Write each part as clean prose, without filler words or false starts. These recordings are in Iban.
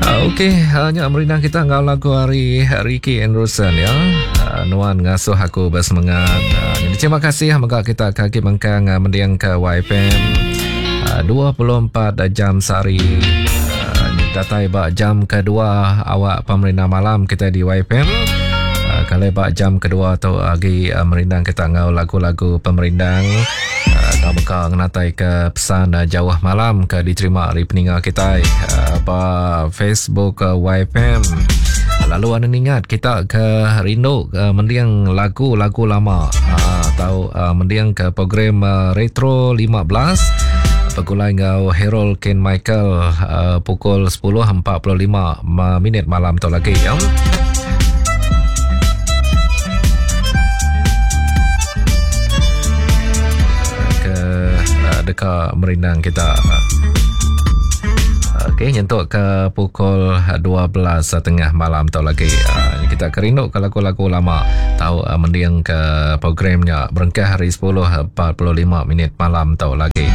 Okey, nya merindang kita enggau lagu ari Ricky Anderson ya. Nuan ngasuh aku bersemangat. Jadi terima kasih mega kita ke agi mengkang mending ke YFM 24 jam sehari. Datai ba jam kedua awak pemerindang malam kita di YFM. Kalau ba jam kedua tu agi merindang kita enggau lagu-lagu pemerindang. Kau mega ngenatai ke pesan jauh malam ke diterima ari peninga kitai ba Facebook YFM. Lalu anda ingat kita ke rindu ke mending lagu-lagu lama atau mending ke program Retro 15 begulai enggau Harold Ken Michael pukul 10.45 minit malam tu lagi ya. Ke eh, deka merindang kita. Okey, nyentuk ke pukul 12.30 malam tu lagi. Uh, kita kerindu ke lagu-lagu lama tau uh, mending ke programnya berengkah hari 10.45 minit malam tu lagi.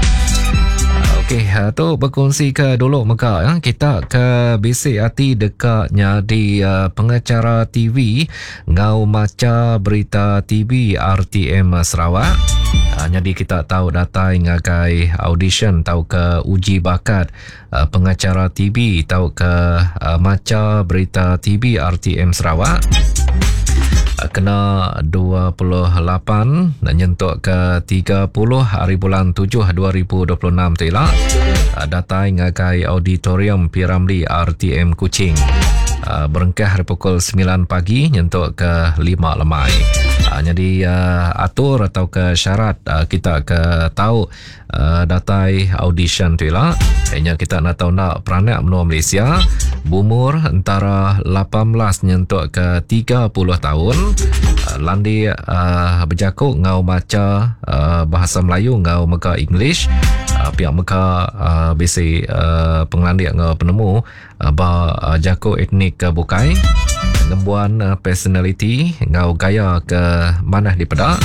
Okey, uh, tu berkongsi ke dulu mega ya. Kita ke bisi ati deka nyadi uh, pengacara TV ngau macha berita TV RTM Sarawak. Uh, nyadi kita tahu datai ngagai audition tau ke uji bakat uh, pengacara TV tau ke uh, macha berita TV RTM Sarawak kena 28 nyentuk ke 30 hari bulan 7 2026 tu ila datai ngagai auditorium P. Ramlee RTM Kuching berengkah ari pukul 9 pagi nyentuk ke 5 lemai. Nyadi atur atau ke syarat kita ke tau Datai audition tu ila, nya kita enda tau enda peranak menua Malaysia beumur entara 18 nyentuk ke 30 taun landik bejaku enggau macha bahasa Melayu enggau mega English pia mega bisi pengelandik enggau penemu ba jaku etnik ke bukai ngembuan personaliti enggau gaya ke manah dipeda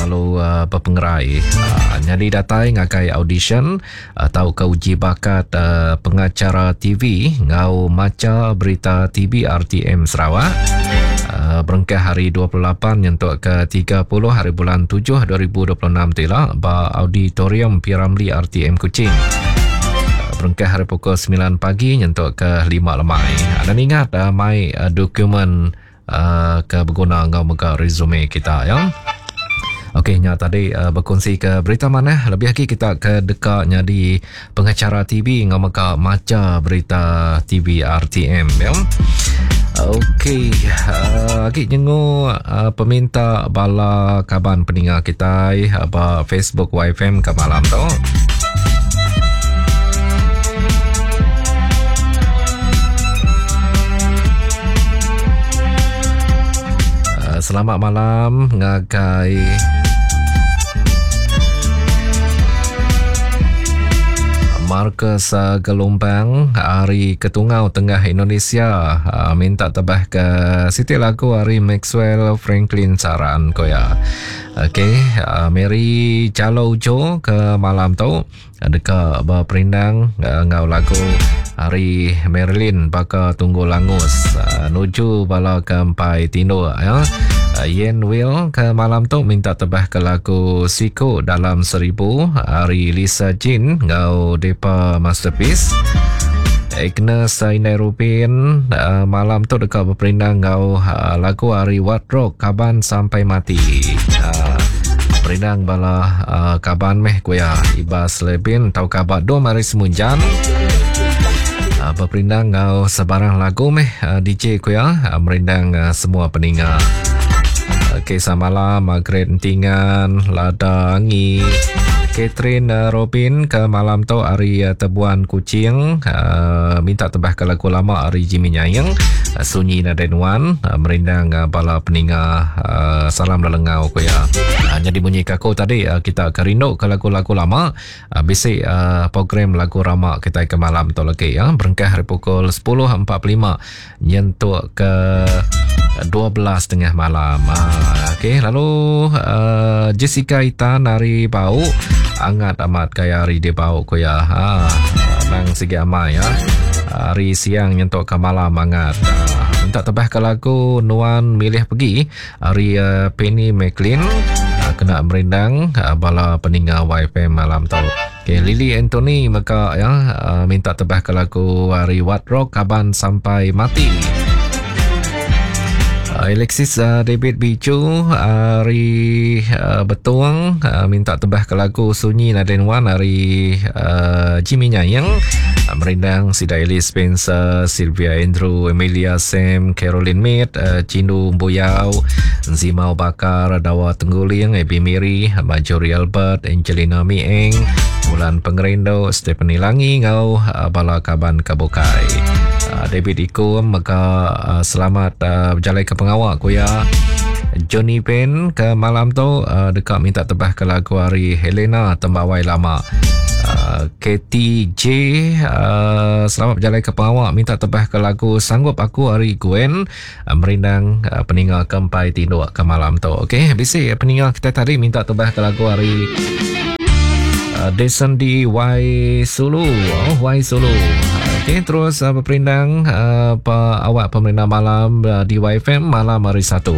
lalu bepengerai nyadi datai ngagai audition tauka uji bakat pengacara TV enggau macha berita TV RTM Sarawak berengkah hari 28 nyentuk ke 30 hari bulan 7 2026 tu ila ba Auditorium P. Ramlee RTM Kuching. Berengkah hari pukul 9 pagi nyentuk ke 5 lemai. Dan ingat uh, mai uh, dokumen uh, ke beguna enggau mega resume kita ya. Okey, nya tadi uh, berkongsi ke berita manah lebih lagi kita ke deka nyadi pengacara TV enggau mega macha berita TV RTM ya. Okey, uh, agi nyengu uh, peminta bala kaban peninga kitai uh, ba Facebook YFM ke malam tu. Uh, selamat malam ngagai Marcus uh, Gelumpang ari Ketungau Tengah Indonesia uh, minta tebah ke siti lagu ari Maxwell Franklin Saran ko ya. Okey, uh, Mary Jalo Ujo ke malam tu deka beperindang enggau lagu ari Marilyn baka tunggu langus nuju bala ke empai tinduk ya. Yen Will ke malam tu minta tebah ke lagu Siku Dalam Seribu ari Lisa Jin enggau Depa Masterpiece. Agnes Indai Rubin malam tu deka beperindang enggau lagu ari Wat Rock Kaban Sampai Mati. Perindang bala uh, kaban meh ku iya Ibas Lebin tauka ba Dom ari Semunjan. Uh, beperindang enggau sebarang lagu meh uh, DJ ku iya uh, merindang uh, semua peninga. Okey, samalam Margaret Entingan, Lada Angi, Catherine uh, Robin ke malam tu ari uh, Tebuan Kuching uh, minta tebah ke lagu lama ari Jimmy Nyaing uh, Sunyi Nadai Nuan uh, merindang uh, bala peninga uh, salam lelengau ku iya. Uh, jadi munyi ke aku tadi uh, kita ke rindu ke lagu-lagu lama uh, bisi uh, program lagu rama kita ke malam tu lagi ya berengkah hari pukul 10.45 nyentuk ke 12.30 malam. Uh, okey lalu uh, Jessica Itan hari Bau angat amat gaya hari dia bau ku iya. Ha nang sigi amai ya. Hari siang nyentuk ke malam angat. Minta tebah ke lagu Nuan Milih Pegi ari Penny McLean kena merindang bala peninga YFM malam tu. Okay, Lily Anthony mega ya minta tebah ke lagu ari What Rock Kaban Sampai Mati. Alexis David Bicu ari Betong minta tebah ke lagu Sunyi Nadai Nuan ari Jimmy Nyaing merindang sida Alice Spencer, Sylvia Andrew, Emilia Sam, Caroline Mead, Cindu Embuyau, Zimau Bakar, Dawa Tengguling, Abby Miri, Marjorie Albert, Angelina Mieng, Bulan Pengerindu, Stephanie Langi enggau bala kaban ke bukai. David Ikum mega selamat bejalai ke pengawa ku iya. Johnny Pen ke malam tu deka minta tebah ke lagu ari Helena Tembawai Lama. KTJ selamat bejalai ke pengawa minta tebah ke lagu Sanggup Aku ari Gwen merindang peninga ke empai tinduk ke malam tu. Okey, bisi peninga kita tadi minta tebah ke lagu ari Deson D Y Sulu. Oh, Y Sulu. Okey, terus uh, berperindang uh, pa awak pemerintah malam uh, di YFM malam hari Satu.